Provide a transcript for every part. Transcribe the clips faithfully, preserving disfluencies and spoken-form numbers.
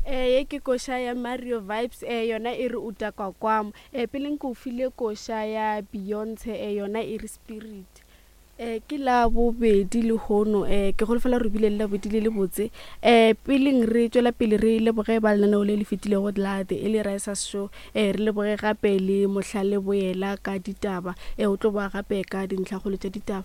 Eh ye ke koša ya Mario Vibes eh yona e re utakwa kwamo. Eh pele nko file koša ya Beyonce eh yona e re Spirit. Eh ke la bobedi lehono eh ke golofela re bile le labobedi le le botse. Eh peleng re tšwela pele re leboge ba lenaneo le le fetilego la The Early Risers Show. Eh re leboge gape le Mohlale Boela ka ditaba. Eh o tlo boa gape ka dintlhakgolo tša ditaba.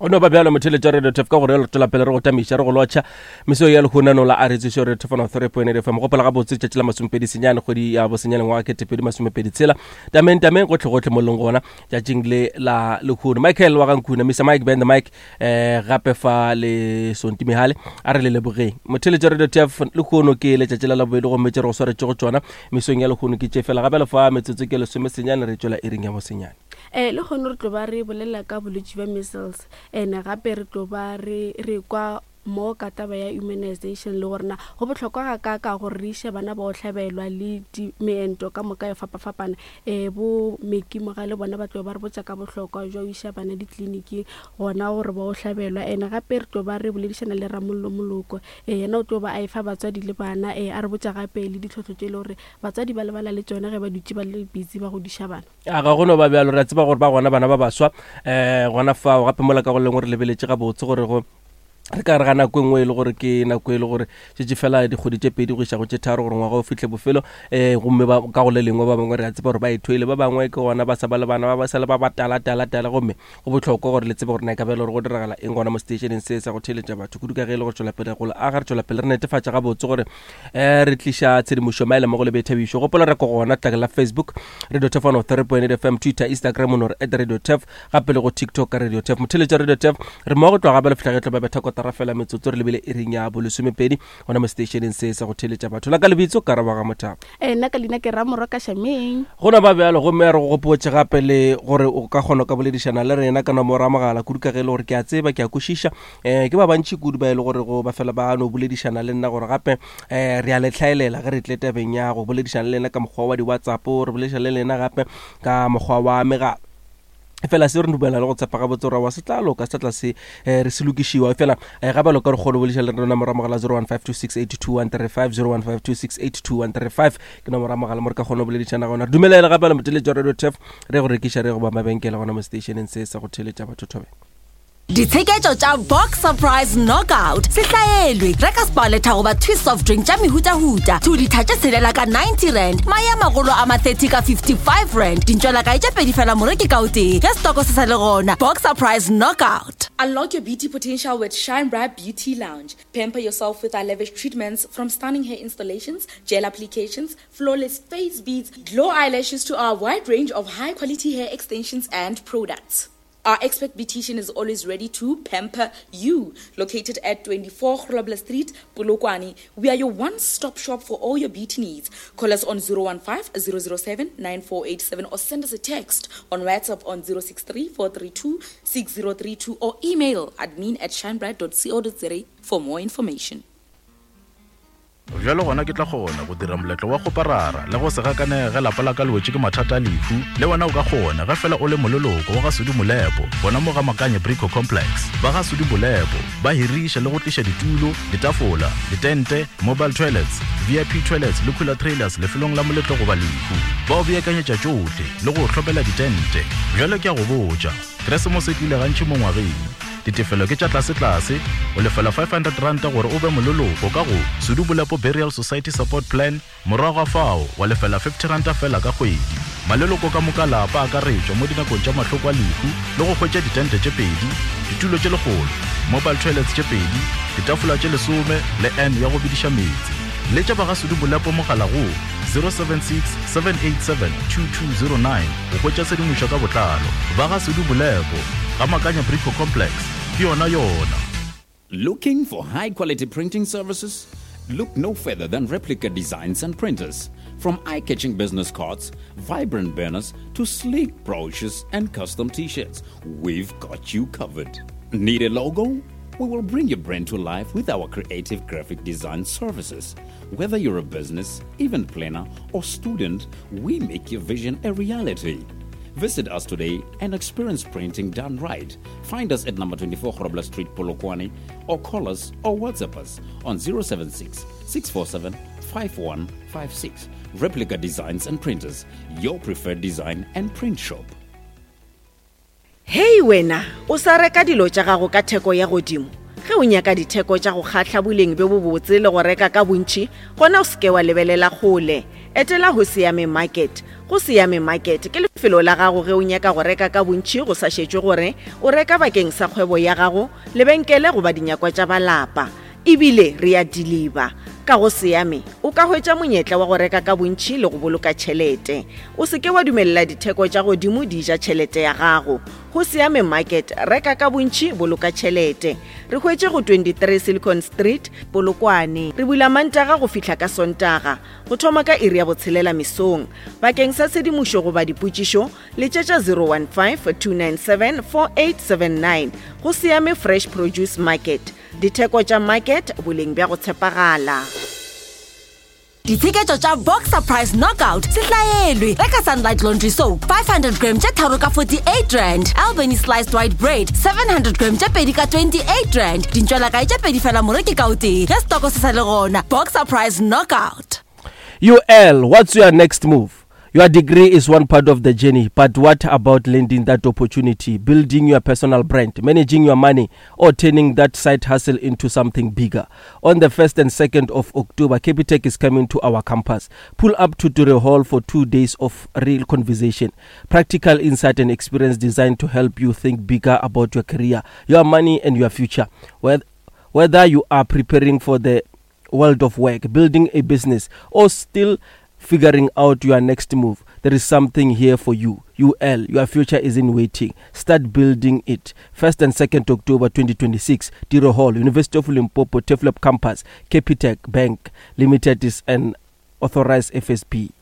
O no ba bjalo motheletša Radio T F ka gore re tšwela pele re go tamiša re go lotšha meso ya lehonano la Aretšišo Radio T F one three point eight F M. Gopola gabotse tšatši la masomepedi senyane kgwedi ya bosenyane ngwaga ketepedi masomepedi tshela tameng tameng gotlhe gotlhe mo leng gona tšatšing le la lehono. Michael wa Gankuna, Mister Mike Ben the Mike, eh gape fa le Sonti Mihale a re le lebogeng. Motheletša Radio T F lehono ke letšatši la labobedi gomme tše re go swaretše go tšona mesong ya lehono ke tše fela gape le fa metsotso ke lesome senyane re tšwela iring ya bosenyane. Eh le kgono re tlo ba re bolela ka bolwetši bja measles ene gape re tlo ba re re kwa mo ka taba ya immunization le gore na go bohlokwa ga ka ka gore re iše bana ba go hlabelwa le di meento ka moka ya fapafapana. Eh bo Mekimoga le bona ba tlo ba re botša ka bohlokwa jwa ho iša bana ditleliniking gona gore ba o hlabelwa. Ene gape re tlo ba re boledišana le Ramollo Moloko, eh yena o tlo ba a efa batswadi le bana, eh a re botša gape le ditlhohlo tše e le gore batswadi ba lebala le tšona ge ba dutše ba le busy ba godiša bana. A ga go no ba bjalo, re a tseba gore ba gona bana ba baswa, eh gona fao gape mola ka go lengwe re lebeletše gabotse gore go re ka re ga nako e nngwe e le gore ke nako e le gore šetše fela dikgwedi tše pedi go iša go tše tharo gore ngwaga o fihle bofelo, eh gomme ba ka go le lengwe ba bangwe re a tseba gore ba ithwele, ba bangwe ke gona ba sa ba le bana ba ba sa le ba ba tala tala tala, gomme go bohlokwa gore le tsebe gore na e ka ba e le gore go diragala eng gona mo stationeng se sa go theeletša batho kudu ka ge e le go tšwela pele go le aga, re tšwela pele re netefatša gabotse gore, eh re tliša tshedimošo maele mo go le boithabišo. Gopola re ko gona tlakeng la Facebook Radio T F one oh three point eight F M, Twitter, Instagram o no re at Radio T F, gape le go TikTok ka Radio T F. Motheeletša Radio T F re mmogo tloga gape le fihla ge tlo ba betha kotara fela metsotso re lebile iring ya bolesomepedi gona mo stationeng se sa go theeletša batho. La ka lebitso ka Raba ga Mothaba. Eh, nna ka leina ke Ramorwa ka Shameng. Go no ba bjalo, gomme a re go gopotše gape le gore o ka kgona ka boledišana le rena ka nomoro ya mogala kudu ka ge e le gore ke a tseba, ke a kwešiša. Eh, ke ba bantši kudu ba e le gore go ba fela ba no boledišana le nna gore gape, eh, re a le tlhaelela ge re tle tabeng ya go boledišana le lena ka mokgwa wa di-WhatsApp, re boledišana le lena gape ka mokgwa wa megala. Fela se re dumela le go tshepa gabotse gore wa se tla loka, se tla se, eh, re se lokišiwa. Fela, eh, gape lo ka re kgone go boledišana le rena nomoro ya mogala zero one five two six eight two one three five, zero one five two six eight two one three five ke nomoro ya mogala mo re ka kgona go boledišana gona. Re dumelele gape le motheeletši wa Radio T F re go rekiša re go ba mabenkele gona mo stationeng se sa go theeletša batho thobela. Ditsheketšo tša Box Surprise Knockout se hlaelwe. Reka Sparletta goba Twist soft drink tša mehutahuta. Two ditha tše tshelela ka ninety rand, mae a magolo a ma thirty ka fifty-five rand. Dintšwela kae tše pedi fela moreki ka o tee. Ge stoko se sa le gona. Box Surprise Knockout. Unlock your beauty potential with Shine Bright Beauty Lounge. Pamper yourself with our lavish treatments, from stunning hair installations, gel applications, flawless face beads, glow eyelashes to our wide range of high-quality hair extensions and products. Our expert beautician is always ready to pamper you. Located at twenty-four Grobler Street, Polokwane, we are your one-stop shop for all your beauty needs. Call us on zero one five, zero zero seven, nine four eight seven or send us a text on WhatsApp on zero six three, four three two, six zero three two or email admin at shinebright dot co dot za for more information. Bjalo gona ke tla kgona go dira moletlo wa go parara le go se gakanege ge lapa la ka le wetše ke mathata a lehu. Le wena o ka kgona ge fela o le moleloko wa ga Sudi Molepo, gona mo ga Makanye Brico Complex. Ba ga Sudi Molepo ba hiriša le go tliša ditulo, ditafola, ditente, mobile toilets, V I P toilets le cooler trailers lefelong la moletlo goba lehu. Ba o beakanyetša tšohle le go hlopela ditente. Bjalo ke a go botša, Keresemose e tlile gantši mo ngwageng. Ditefelo ke tša tlase-tlase, o lefela five hundred rand gore o be moleloko ka go Sudi Molepo Burial Society Support Plan, morago ga fao wa lefela fifty rand fela ka kgwedi. Maleloko ka moka lapa a akaretšwa mo dinakong tša mahloko a lehu le go hwetša ditente tše pedi, ditulo tše lekgolo, mobile toilets tše pedi, ditafola tše lesome le N ya go bediša meetse. Letša ba ga Sudi Molepo mogala go zero seven six, seven eight seven, two two zero nine go hwetša tshedimošo ka botlalo. Ba ga Sudi Molepo, ga Makanya Brico Complex, ke yona yona. Looking for high quality printing services? Look no further than Replica Designs and Printers. From eye-catching business cards, vibrant banners, to sleek brochures and custom t-shirts, we've got you covered. Need a logo? We will bring your brand to life with our creative graphic design services. Whether you're a business, event planner, or student, we make your vision a reality. Visit us today and experience printing done right. Find us at number twenty-four Grobler Street, Polokwane, or call us or WhatsApp us on zero seven six, six four seven, five one five six. Replica Designs and Printers, your preferred design and print shop. Hei wena, o sa reka dilo tša gago ka theko ya godimo. Ge o nyaka ditheko tša go kgahla boleng bjo bobotse le go reka ka bontši, gona o seke wa lebelela kgole. Etela go Siame Market. Go Siame Market ke lefelo la gago ge o nyaka go reka ka bontši go sa šetšwe gore o reka bakeng sa kgwebo ya gago, lebenkele goba dinyakwa tša balapa. Ebile re a deliver. Ka go Siame o ka hwetša monyetla wa go reka ka bontši le go boloka tšhelete. O seke wa dumelela ditheko tša godimo di ja tšhelete ya gago. Go Siame Market, reka ka bontši, boloka tšhelete. Re hwetše go twenty-three Silicon Street, Polokwane. Re bula Mantaga go fihla ka Sontaga, go thoma ka iri ya botshelela mesong. Bakeng sa tshedimošo goba dipotšišo, letšetša zero one five, two nine seven, four eight seven nine. Go Siame Fresh Produce Market. Ditheko tša market, boleng bja go tshepagala. Ditsheketšo tša Boxer Price Knockout se hlaelwe. Reka Sunlight Laundry Soap five hundred gram tše tharo ka forty-eight rand. Albany Sliced White Bread seven hundred gram tše pedi ka twenty-eight rand. Dintšwela kae tše pedi fela moreki ka o tee. Ge stoko se sa le gona. Boxer Price Knockout. U L, what's your next move? Your degree is one part of the journey, but what about landing that opportunity, building your personal brand, managing your money, or turning that side hustle into something bigger? On the first and second of October, Capitec is coming to our campus. Pull up to Ture Hall for two days of real conversation, practical insight and experience designed to help you think bigger about your career, your money, and your future. Whether you are preparing for the world of work, building a business, or still figuring out your next move, there is something here for you. U L, your future is in waiting. Start building it. first and second October twenty twenty-six, Tiro Hall, University of Limpopo, Turfloop Campus. Capitec Bank Limited is an authorized F S B.